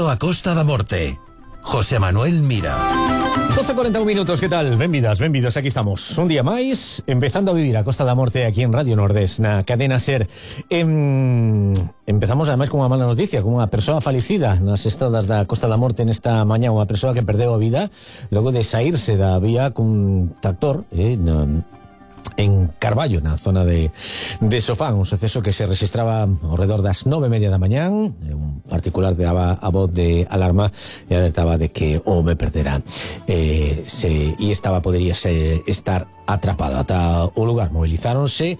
Vivindo a Costa da Morte. José Manuel Mira. 12:41 minutos, ¿qué tal? Benvidas, aquí estamos. Un día máis, empezando a vivir a Costa da Morte aquí en Radio Nordés, na cadena SER. Empezamos ademais con unha mala noticia, con unha persoa falecida nas estradas da Costa da Morte nesta mañá, unha persoa que perdeu a vida logo de saírse da vía cun tractor, en Carballo, na zona de Sofán, un suceso que se registraba ao redor das 9:30 da mañán. Un particular daba a voz de alarma e alertaba de que o home perdera podería estar atrapado. Ata o lugar movilizáronse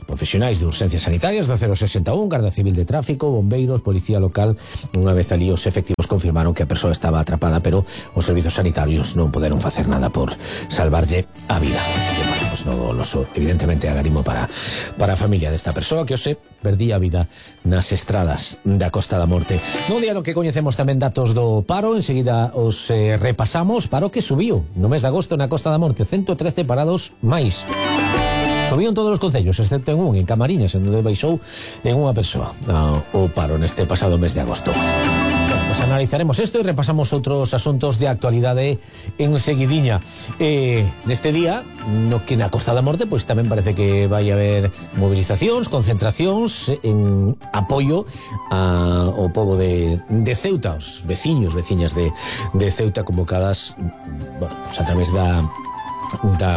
profesionais de urxencias sanitarias do 061, Garda Civil de Tráfico, bombeiros, policía local. Unha vez ali os efectivos confirmaron que a persoa estaba atrapada, pero os servizos sanitarios non poderon facer nada por salvarlle a vida. Así que, bueno, pues no doloso, evidentemente agarimo para a familia desta persoa que hoxe perdía a vida nas estradas da Costa da Morte. Non día no que coñecemos tamén datos do paro, enseguida os repasamos. Paro que subiu no mes de agosto na Costa da Morte, 113 parados máis. Subían todos os concellos, excepto en un, en Camariñas, en onde baixou en unha persoa o paro neste pasado mes de agosto. Pues analizaremos isto e repasamos outros asuntos de actualidade en seguidiña. Neste día, no que na Costa da Morte, pois tamén parece que vai haber movilizacións, concentracións en apoio ao pobo de Ceuta, os veciñas de Ceuta convocadas, bueno, pues a través da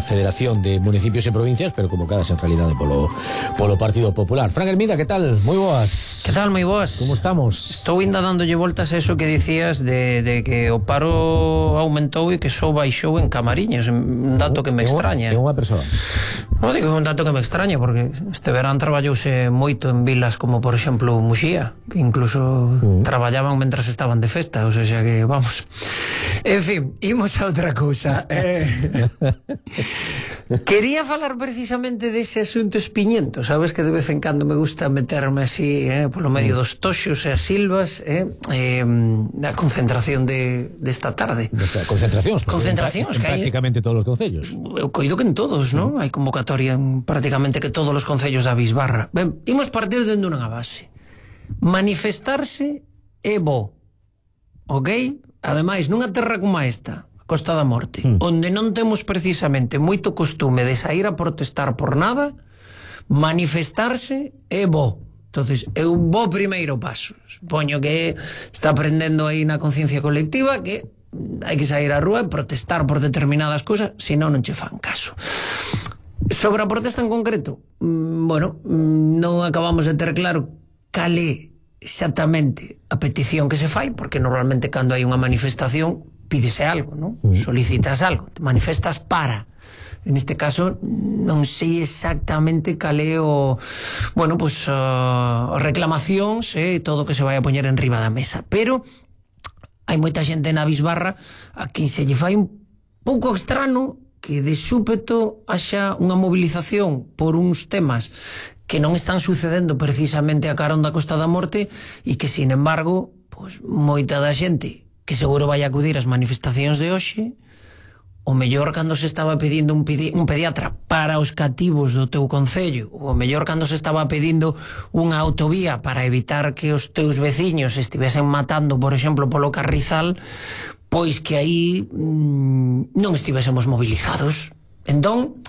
Federación de Municipios e Provincias, pero convocadas en realidade polo Partido Popular. Fran Hermida, que tal? Moi boas. Que tal? Moi boas. Como estamos? Estou ainda dándolle voltas a eso que dicías de que o paro aumentou e que só baixou en Camariñas, un dato que me extraña. É unha persoa. Non digo un dato que me extraña, porque este verán traballouse moito en vilas como, por exemplo, Muxía, que incluso traballaban mentras estaban de festa, o sea que, vamos. En fin, imos a outra cousa. Quería falar precisamente dese asunto espiñento. Sabes que de vez en cando me gusta meterme así polo medio dos toxos e as silvas, da concentración desta tarde. Concentracións que hai prácticamente todos os concellos. Eu coido que en todos, non? Hai convocatoria en prácticamente que todos os concellos da Bisbarra. Ben, imos partir dende unha base. Manifestarse é bo, ok? Ademais, nunha terra como esta, Costa da Morte, onde non temos precisamente moito costume de sair a protestar por nada, manifestarse é bo. Entonces, é un bo primeiro paso. Supoño que está aprendendo aí na conciencia colectiva que hai que sair á rúa e protestar por determinadas cousas, senón non che fan caso. Sobre a protesta en concreto, bueno, non acabamos de ter claro cal é exactamente a petición que se fai, porque normalmente cando hai unha manifestación pídese algo, non? Solicitas algo, te manifestas para. En este caso non sei exactamente cal é o, bueno, pues reclamacións e todo o que se vai a poñer en riba da mesa, pero hai moita xente na Bisbarra a quen se lle fai un pouco extraño que de súpeto haxa unha movilización por uns temas que non están sucedendo precisamente a carón da Costa da Morte e que, sin embargo, pues, moita da xente que seguro vai acudir ás manifestacións de hoxe, o mellor cando se estaba pedindo un pediatra para os cativos do teu concello, o mellor cando se estaba pedindo unha autovía para evitar que os teus veciños estivesen matando, por exemplo, polo Carrizal, pois que aí non estivésemos movilizados. Entón,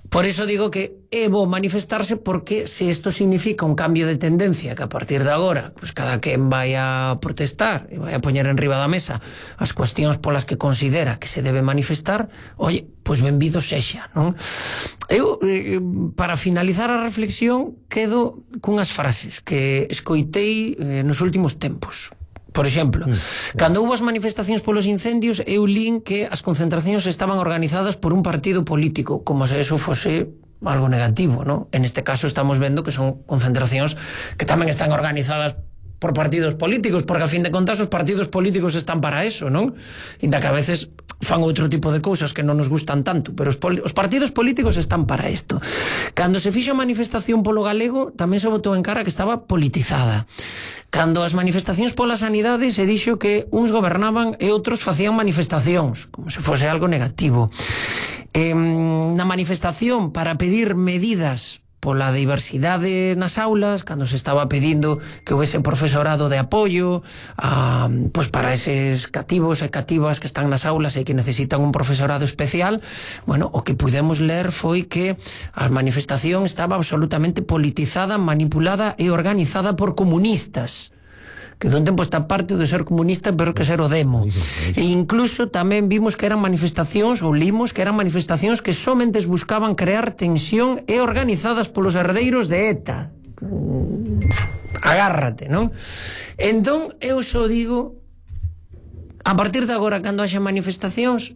por eso digo que é bo manifestarse, porque se isto significa un cambio de tendencia, que a partir de agora pues cada quen vai a protestar e vai a poñer en riba da mesa as cuestións polas que considera que se debe manifestar, oye, pues benvido sexa, non? Eu, para finalizar a reflexión, quedo cunhas frases que escoitei nos últimos tempos. Por exemplo, cando houve as manifestacións polos incendios, eu lín que as concentracións estaban organizadas por un partido político, como se eso fose algo negativo, ¿no? En este caso estamos vendo que son concentracións que tamén están organizadas por partidos políticos, porque a fin de contas os partidos políticos están para eso, non? Inda que a veces fan outro tipo de cousas que non nos gustan tanto, pero os partidos políticos están para isto. Cando se fixo a manifestación polo galego, tamén se botou en cara que estaba politizada. Cando as manifestacións pola sanidade, se dixo que uns gobernaban e outros facían manifestacións, como se fose algo negativo. Na manifestación para pedir medidas pola diversidade nas aulas, cando se estaba pedindo que houvese profesorado de apoio pois para eses cativos e cativas que están nas aulas e que necesitan un profesorado especial. Bueno, o que pudemos ler foi que a manifestación estaba absolutamente politizada, manipulada e organizada por comunistas, que don tempo esta parte de ser comunista pero que ser o demo. E incluso tamén vimos que eran manifestacións, ou limos que eran manifestacións que somente buscaban crear tensión e organizadas polos herdeiros de ETA. Agárrate, non? Entón, eu só digo, a partir de agora, cando haxa manifestacións,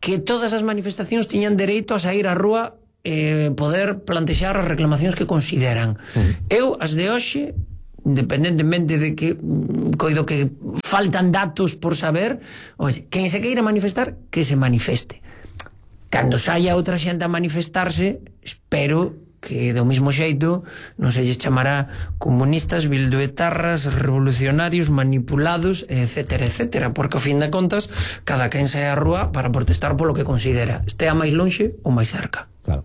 que todas as manifestacións tiñan dereito a sair á rúa e poder plantexar as reclamacións que consideran. Eu, as de hoxe, independentemente de que coido que faltan datos por saber, oye, quen se queira manifestar, que se manifeste. Cando saia outra xente a manifestarse, espero que do mismo xeito non se lles chamará comunistas, bilduetarras, revolucionarios, manipulados, etcétera, etcétera, porque ao fin de contas cada quen sae á rúa para protestar polo que considera, estea máis lonxe ou máis cerca. Claro.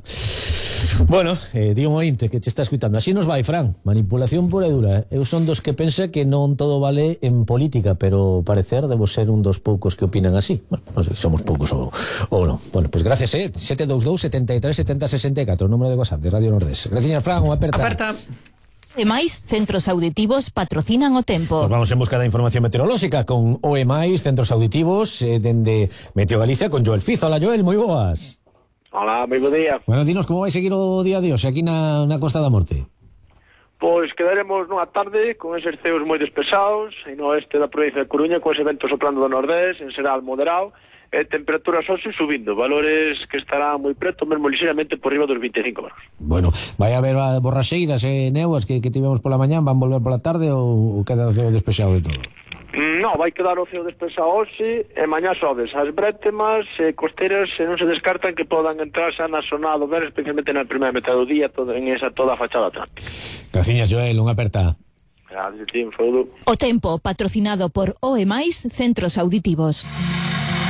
Bueno, di un ointe que te está escuitando. Así nos vai, Fran. Manipulación pura e dura. Eu son dos que pensa que non todo vale en política, pero parecer debo ser un dos poucos que opinan así. Bueno, non sei, somos poucos ou non. Bueno, pues gracias, 722 73 70 64, o número de WhatsApp de Radio Nordés. Gracias, Fran, unha aperta. Aperta. E máis, centros auditivos patrocinan o tempo. Pues vamos en busca da información meteorolóxica con OE+, centros auditivos, dende Meteo Galicia, con Joel Fizo. Hola, Joel, moi boas. Hola, moi bo día. Bueno, dinos como vai seguir o día de hoxe aquí na Costa da Morte. Pois quedaremos nunha tarde con eses ceos moi despesados e no oeste da provincia de Coruña con ese vento soprando do nordés, en xeral moderado, e temperaturas hoxe subindo, valores que estarán moi preto, mesmo lixeramente por riba dos 25 graus. Bueno, vai haber borraxeiras e neuas que tivemos pola mañán, van volver pola tarde ou queda o ceo despexado de todo? Non, vai quedar o ceo despexado hoxe e mañá sobes. As brétemas e costeiras non se descartan que podan entrar xa na zona do verano, especialmente na primeira metade do día, en esa toda a fachada atlántica. Graciñas, Joel, unha aperta. Gracias, Tim, saúdo. O tempo patrocinado por OE+, centros auditivos.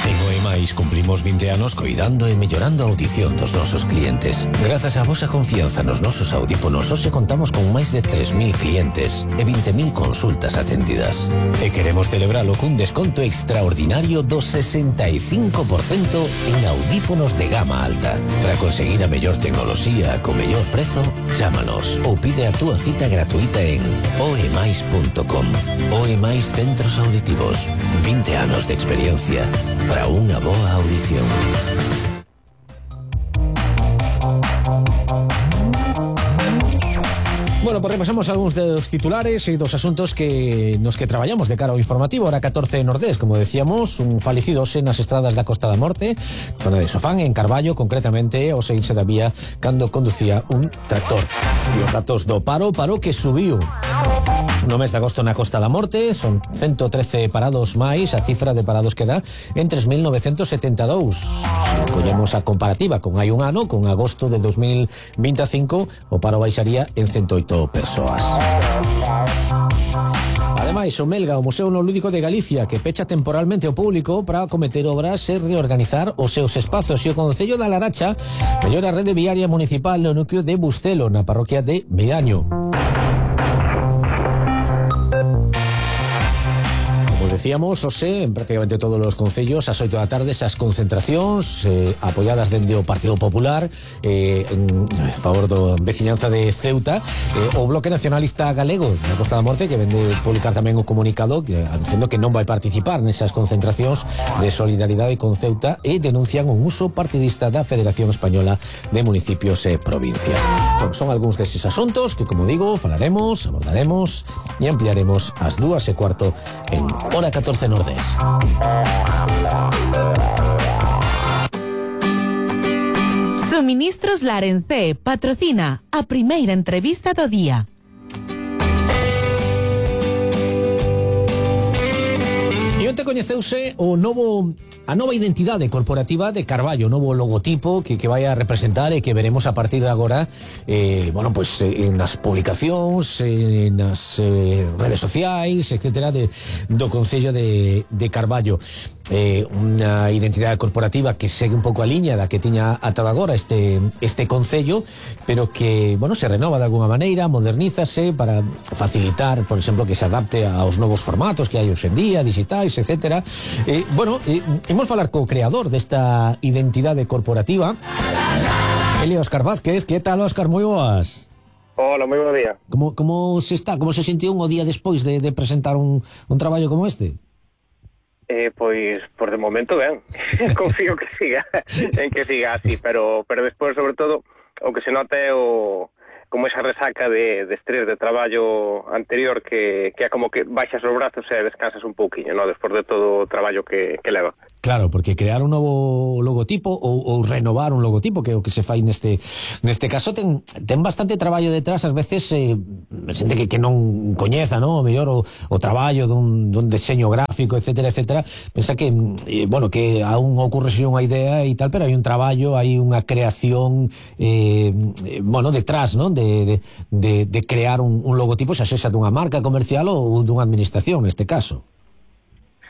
En OE+, cumplimos 20 anos coidando e mellorando a audición dos nosos clientes. Grazas á vosa confianza nos nosos audífonos, hoxe contamos con máis de 3.000 clientes e 20.000 consultas atendidas. E queremos celebralo cun desconto extraordinario do 65% en audífonos de gama alta. Para conseguir a mellor tecnoloxía co mellor prezo, chámanos ou pide a túa cita gratuita en oemais.com. OE+, centros auditivos. 20 anos de experiencia para unha boa audición. Bueno, pues repasamos algúns dos titulares e dos asuntos nos que traballamos de cara ao informativo. Hora 14 Nordés, como decíamos, un falecido hoxe nas estradas da Costa da Morte, zona de Sofán, en Carballo, concretamente ao seguirse da vía cando conducía un tractor. E os datos do paro que subiu no mes de agosto na Costa da Morte, son 113 parados máis, a cifra de parados que dá en 3.972. Se collemos a comparativa con hai un ano, con agosto de 2025, o paro baixaría en 108 persoas. Ademais, o Melga, o Museo Neolúdico de Galicia, que pecha temporalmente ao público para acometer obras e reorganizar os seus espazos. E o Concello da Laracha mellora a rede viaria municipal no núcleo de Bustelo, na parroquia de Medaño. Decíamos, hoxe, en prácticamente todos os concellos, ás 8 da tarde, esas concentracións apoiadas dende o Partido Popular en favor do veciñanza de Ceuta, o Bloque Nacionalista Galego na Costa da Morte, que vende publicar tamén un comunicado anunciando que non vai participar nesas concentracións de solidaridade con Ceuta e denuncian un uso partidista da Federación Española de Municipios e Provincias. Bueno, son algúns deses asuntos que, como digo, falaremos, abordaremos e ampliaremos ás 2:15 en Hora 14 Nordés. Suministros Larencé patrocina a primeira entrevista do día. E onte coñeceuse a nova identidade corporativa de Carballo, o novo logotipo que vai a representar e que veremos a partir de agora nas publicacións, nas redes sociais, etcétera, do Concello de Carballo. unha identidade corporativa que segue un pouco a liña da que tiña ata agora este concello, pero que, bueno, se renova de alguna maneira, modernízase para facilitar, por exemplo, que se adapte aos novos formatos que hai hoxe en día, digitais, etcétera. Imos falar co creador desta identidade corporativa, Óscar Vázquez. Que tal, Óscar? Moi boas. Hola, moi bo día. Como se sentiu o día despois de presentar un traballo como este? Pois, por de momento, ben. Confío que siga así, pero despois, sobre todo, o que se nota é como esa resaca de estrés de traballo anterior que é como que baixas os brazos e descansas un pouquiño, ¿no? Despois de todo o traballo que leva. Claro, porque crear un novo logotipo ou renovar un logotipo, que é o que se fai neste caso, ten bastante traballo detrás, ás veces xente que non coñeza, ¿no? O mellor o traballo dun diseño gráfico, etcétera, pensa que, que aún ocorre unha idea e tal, pero hai un traballo, hai unha creación detrás, ¿no? De crear un logotipo, xa sexa dunha marca comercial ou dunha administración, neste caso.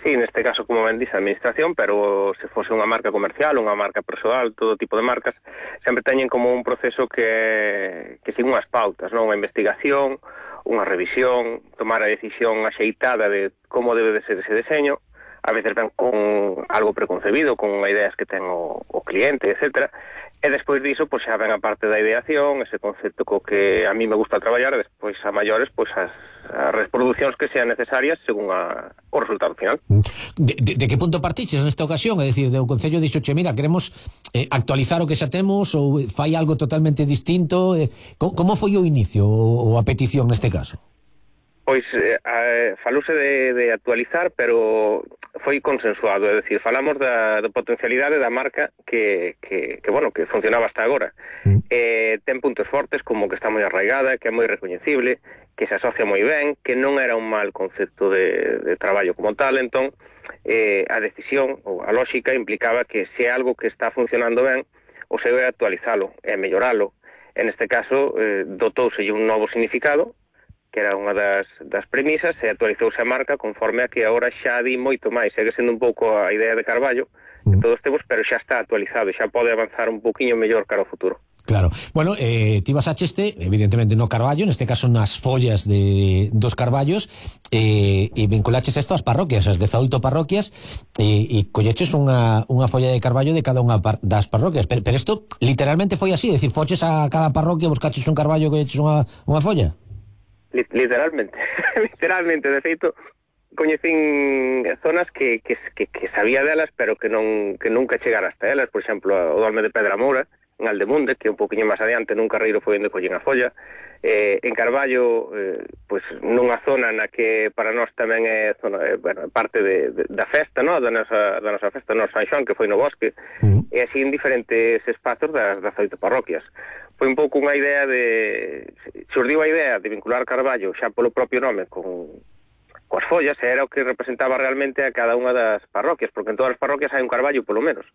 Sí, neste caso, como ben dice, a administración, pero se fose unha marca comercial, unha marca persoal, todo tipo de marcas, sempre teñen como un proceso que sigue unhas pautas, non? Unha investigación, unha revisión, tomar a decisión axeitada de como debe de ser ese deseño, a veces ven con algo preconcebido, con ideas que ten o cliente, etcétera. E despois diso, pois xa ven a parte da ideación, ese concepto co que a mí me gusta traballar, e despois a maiores, pois as reproduccións que sean necesarias según o resultado final. De que punto partiches nesta ocasión? É dicir, o Concello dixo, mira, queremos actualizar o que xa temos ou fai algo totalmente distinto? Como foi o inicio ou a petición neste caso? Pois falouse de actualizar, pero foi consensuado, é dicir, falamos da potencialidade da marca que funcionaba hasta agora. Ten puntos fortes, como que está moi arraigada, que é moi recoñecible, que se asocia moi ben, que non era un mal concepto de traballo como tal, entón a decisión ou a lógica implicaba que se é algo que está funcionando ben, o seu é actualizalo, é melloralo. En este caso, dotouselle un novo significado, que era unha das premisas, e actualizouse a marca conforme a que agora xa di moito máis. Segue sendo un pouco a idea de Carballo, que todos temos, pero xa está actualizado, xa pode avanzar un pouquiño mellor cara ao futuro. Claro. Bueno, ti basaste, evidentemente, no Carballo, neste caso nas follas dos Carballos, e vinculaches isto ás parroquias, as 18 parroquias, e colleches unha folla de Carballo de cada unha das parroquias. Pero isto literalmente foi así, é dicir, foches a cada parroquia, buscaches un Carballo e colleches unha folla? Literalmente, de feito, coñecín zonas que sabía delas, pero que nunca chegara hasta elas. Por exemplo, o Dolme de Pedra Moura, en Aldemunde, que un poquinho máis adiante nun carreiro foi onde collín a folla. En Carballo, pois nunha zona na que para nós tamén é parte da festa, no? da nosa festa, no San Xoán, que foi no bosque, e así en diferentes espazos das 18 parroquias. Foi un pouco unha idea xurdiu a idea de vincular Carballo xa polo propio nome coas follas, e era o que representaba realmente a cada unha das parroquias, porque en todas as parroquias hai un Carballo polo menos.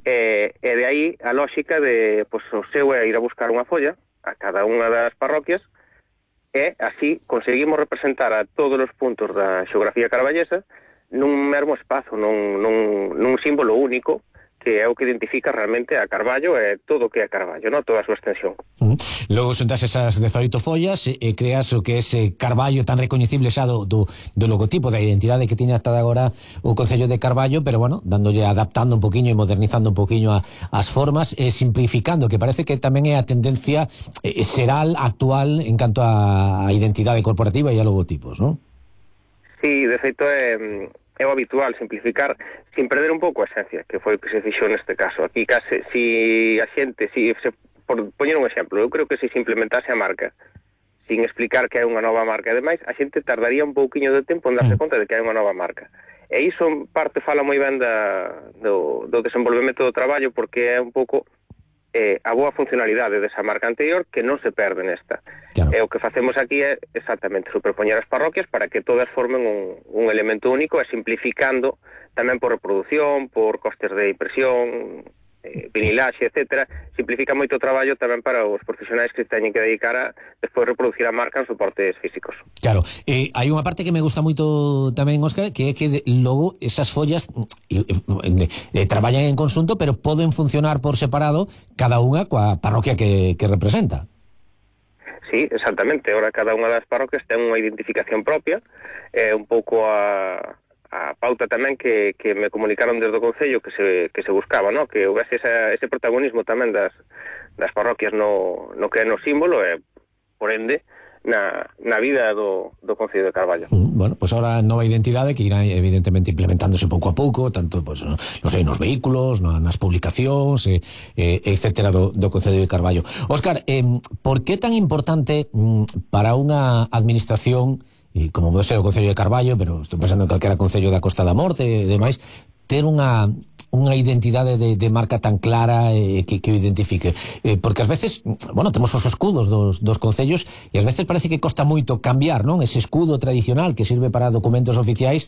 E de aí a lógica de, pois, o seu é ir a buscar unha folla a cada unha das parroquias, e así conseguimos representar a todos os puntos da xeografía carballesa nun mesmo espazo, nun símbolo único, que é o que identifica realmente a Carballo e todo o que é Carballo, ¿no? Toda a súa extensión. Logo xuntas esas 18 follas e creas o que é ese Carballo tan recoñecible xa do logotipo, da identidade que tiña hasta agora o Concello de Carballo, pero bueno, dándolle, adaptando un poquinho e modernizando un poquinho as formas e simplificando, que parece que tamén é a tendencia xeral actual en canto a identidade corporativa e a logotipos, ¿no? Sí, de feito é o habitual, simplificar sin perder un pouco a esencia, que foi o que se fixou neste caso. Aquí case, por poñer un exemplo, eu creo que se implementase a marca sin explicar que é unha nova marca, ademais, a xente tardaría un pouquiño de tempo en darse conta de que hai unha nova marca. E iso en parte fala moi ben do desenvolvemento do traballo, porque é un pouco a boa funcionalidade desa marca anterior que non se perde nesta. Claro. E o que facemos aquí é exactamente superpoñer as parroquias para que todas formen un elemento único, e simplificando tamén por reproducción, por costes de impresión, vinilaxe, etcétera, simplifica moito o traballo tamén para os profesionais que teñen que dedicar a despois reproducir a marca en soportes físicos. Claro, hai unha parte que me gusta moito tamén, Óscar, que é que logo esas follas traballan en conxunto, pero poden funcionar por separado cada unha coa parroquia que representa. Sí, exactamente. Ahora cada unha das parroquias ten unha identificación propia, un pouco a pauta tamén que me comunicaron desde o Concello que se buscaba, ¿no? Que houvese ese protagonismo tamén das parroquias no que é no símbolo e, por ende, na vida do Concello de Carballo. Bueno, pues ahora nova identidade que irá evidentemente implementándose pouco a pouco, tanto pues, non sei, nos vehículos, nas publicacións, etcétera do Concello de Carballo. Óscar, por que tan importante para unha administración, e como pode ser o Concello de Carballo, pero estou pensando en calquera concello da Costa da Morte e demais, ter unha identidade de marca tan clara que o identifique, porque ás veces, bueno, temos os escudos dos concellos e ás veces parece que costa moito cambiar, non? Ese escudo tradicional que sirve para documentos oficiais,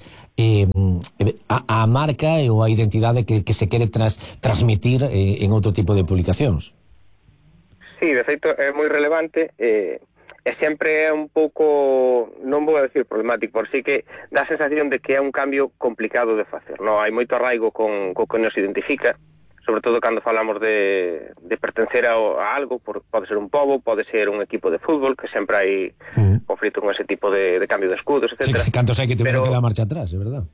a marca ou a identidade que se quere transmitir en outro tipo de publicacións. Sí, de feito é moi relevante, e sempre é un pouco, non vou a decir problemático, por si que dá a sensación de que é un cambio complicado de facer, non? Hai moito arraigo con que nos identifica, sobre todo cando falamos de pertencer a algo, pode ser un pobo, pode ser un equipo de fútbol, que sempre hai conflito con ese tipo de cambio de escudos, etc. Sí, cantos hai que tiveron que dar marcha atrás, é verdad?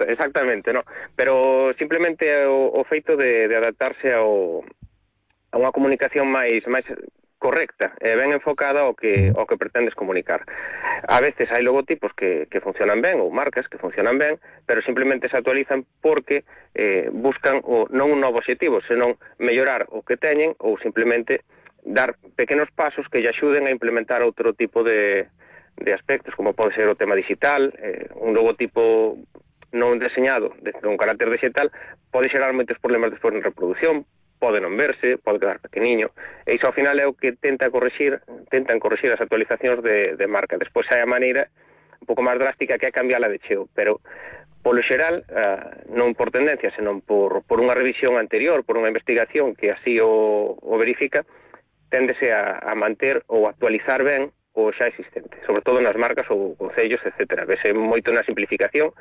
Exactamente, no? Pero simplemente o feito de adaptarse a unha comunicación máis correcta e ben enfocada ao que pretendes comunicar. A veces hai logotipos que funcionan ben, ou marcas que funcionan ben, pero simplemente se actualizan porque buscan non un novo objetivo, senón mellorar o que teñen ou simplemente dar pequenos pasos que lle axuden a implementar outro tipo de aspectos, como pode ser o tema digital. Un logotipo non deseñado con carácter digital pode xerar moitos problemas despois en reproducción, pode non verse, pode quedar pequeniño, e iso ao final é o que tentan corrixir as actualizacións de marca. Despois hai a maneira un pouco máis drástica que é cambiala de cheo, pero polo xeral, non por tendencia, senón por unha revisión anterior, por unha investigación que así o verifica, téndese a manter ou actualizar ben o xa existente, sobre todo nas marcas ou concellos, etc. Vese moito na simplificación,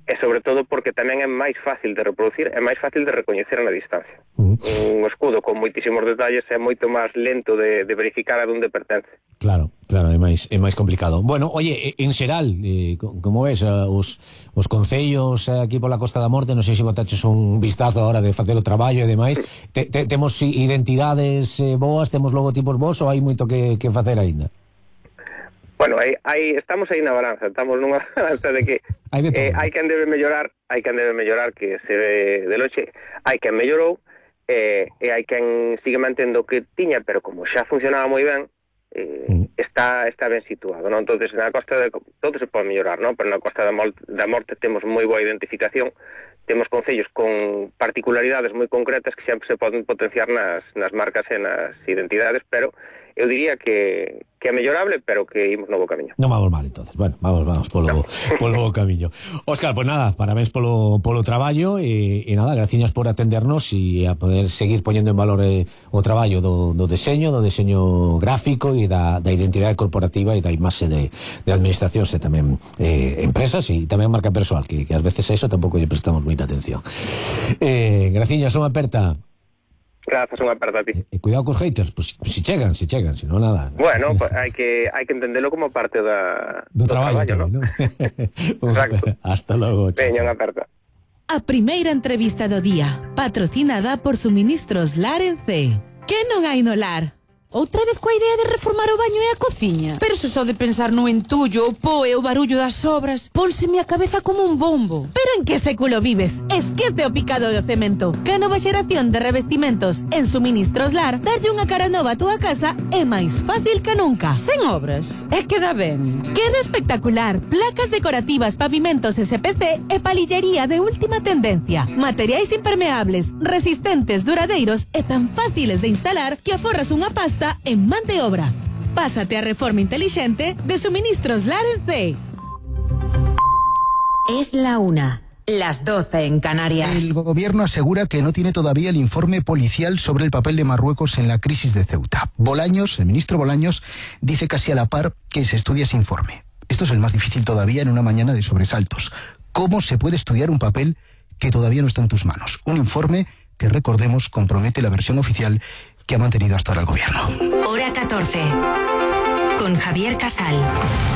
e sobre todo porque tamén é máis fácil de reproducir, é máis fácil de recoñecer na distancia. Un escudo con moitísimos detalles é moito máis lento de verificar a onde pertence. Claro, é máis complicado. Bueno, oye, en xeral, como ves, os concellos aquí pola Costa da Morte, non sei se botaches un vistazo ahora de facer o traballo e demais, temos identidades boas, temos logotipos bons, ou hai moito que facer aínda? Bueno, estamos aí na balanza, estamos nunha balanza de que hai quen debe mellorar, que se ve de loxe, hai quen mellorou, e hai quen sigue mantendo o que tiña, pero como xa funcionaba moi ben, está ben situado, non? Entonces, na Costa todo se pode mellorar, non? Pero na Costa da Morte temos moi boa identificación, temos concellos con particularidades moi concretas que sempre se poden potenciar nas marcas e nas identidades, pero eu diría que é mellorable, pero que imos no bo camiño. Non vamos mal, entonces. Bueno, vamos polo bo camiño. Óscar, pues nada, parabéns polo traballo e nada, graciñas por atendernos e a poder seguir poñendo en valor o traballo do deseño gráfico e da identidade corporativa e da imaxe de administracións e tamén empresas e tamén marca persoal, que ás veces a eso tampouco lle prestamos moita atención. Graciñas, unha aperta. Grazas, unha aperta a ti. Cuidado cos haters, pues si chegan, si non nada. Bueno, pues hai que entendelo como parte do traballo, ¿no? Exacto. Hasta logo. Veña, unha aperta. A primeira entrevista do día, patrocinada por Suministros Lar en C. Que non hai no lar? Outra vez coa idea de reformar o baño e a cociña. Pero se só de pensar no entullo, o po e o barullo das obras, pónseme a cabeza como un bombo. Pero en que século vives? Esquece o picado do cemento. Que a nova xeración de revestimentos en Suministros Lar, darlle unha cara nova a túa casa é máis fácil que nunca. Sen obras, é que dá ben. Queda espectacular. Placas decorativas, pavimentos SPC e palillería de última tendencia. Materiais impermeables, resistentes, duradeiros e tan fáciles de instalar que aforras unha pasta en man de obra. Pásate a reforma inteligente de Suministros Lar en C. Es la 1. las 12 en Canarias. El gobierno asegura que no tiene todavía el informe policial sobre el papel de Marruecos en la crisis de Ceuta. Bolaños, el ministro Bolaños, dice casi a la par que se estudia ese informe. Esto es el más difícil todavía en una mañana de sobresaltos. ¿Cómo se puede estudiar un papel que todavía no está en tus manos? Un informe que, recordemos, compromete la versión oficial que ha mantenido hasta ahora el gobierno. Hora 14. Con Javier Casal.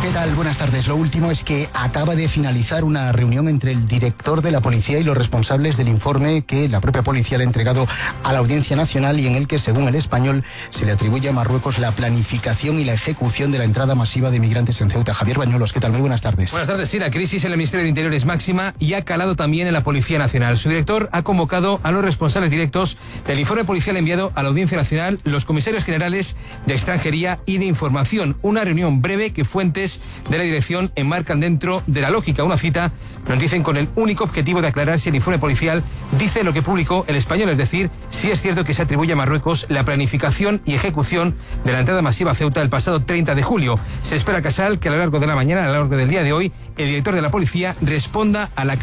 ¿Qué tal? Buenas tardes. Lo último es que acaba de finalizar una reunión entre el director de la policía y los responsables del informe que la propia policía le ha entregado a la Audiencia Nacional y en el que, según El Español, se le atribuye a Marruecos la planificación y la ejecución de la entrada masiva de migrantes en Ceuta. Javier Bañuelos, ¿qué tal? Muy buenas tardes. Buenas tardes. Sí, la crisis en el Ministerio del Interior es máxima y ha calado también en la Policía Nacional. Su director ha convocado a los responsables directos del informe policial enviado a la Audiencia Nacional, los comisarios generales de Extranjería y de Información. Una reunión breve que fuentes de la dirección enmarcan dentro de la lógica. Una cita, nos dicen, con el único objetivo de aclarar si el informe policial dice lo que publicó El Español, es decir, si es cierto que se atribuye a Marruecos la planificación y ejecución de la entrada masiva a Ceuta el pasado 30 de julio. Se espera, Casal, que a lo largo de la mañana, a lo largo del día de hoy, el director de la policía responda a la